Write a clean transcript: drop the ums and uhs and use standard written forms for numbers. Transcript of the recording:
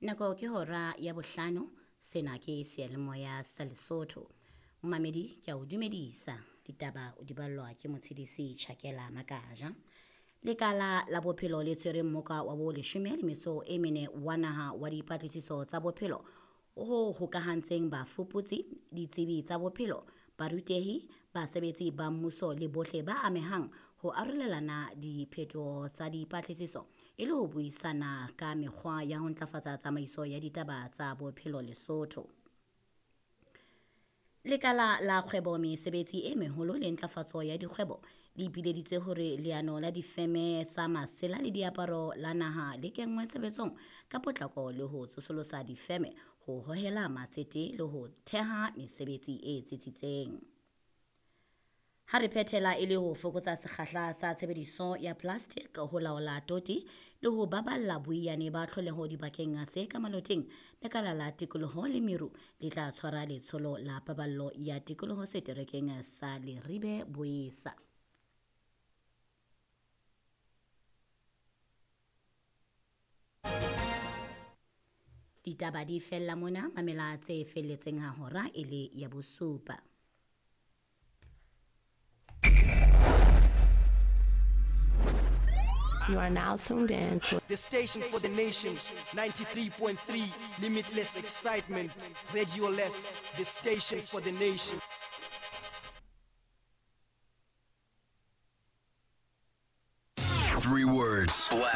Nako ke hora ya bohlano, sena ke seyalemoya sa Lesotho. Momamedi ke a o dumedisa, ditaba o di ballwa ke motshedisi Tjhakela Makaja. Lekala la bophelo le tshwere mmoka wa bo leshome le metso e mene wa naha wa dipatlisiso tsa bophelo ho hokahantseng bafuputsi, ditsebi tsa bophelo, barutehi, basebetsi ba mmuso le bohle ba amehang ho arolelana diphetoho tsa dipatlisiso e le ho buisana ka mekgwa ya ho ntlafatsa tsamaiso ya ditaba tsa bophelo Lesotho. Lekala la kgwebo mesebetsi e meholo le ntlafatso ya dikgwebo le ipileditse hore leano la difeme tsa masela le diaparo la naha le kenngwe tshebetsong ka potlako le ho tsosolosa difeme ho hohela matsete le ho theha mesebetsi e tsitsitseng. Ha re phethela e le ho fokotsa sekgahla sa tshebediso ya plastic ho laola toti le ho baballa boiyane ba tlholeho dibakeng tse ka maloteng, lekala la tikoloho le meru le tla tshwara letsholo la paballo ya tikoloho seterekeng sa Leribe Boesa. Ditaba di fella mona, mamela tse felletseng ha hora e le ya bosupa. You are now tuned in to the station for the nation, 93.3, limitless excitement, Radio Less, the station for the nation. Three words. Black.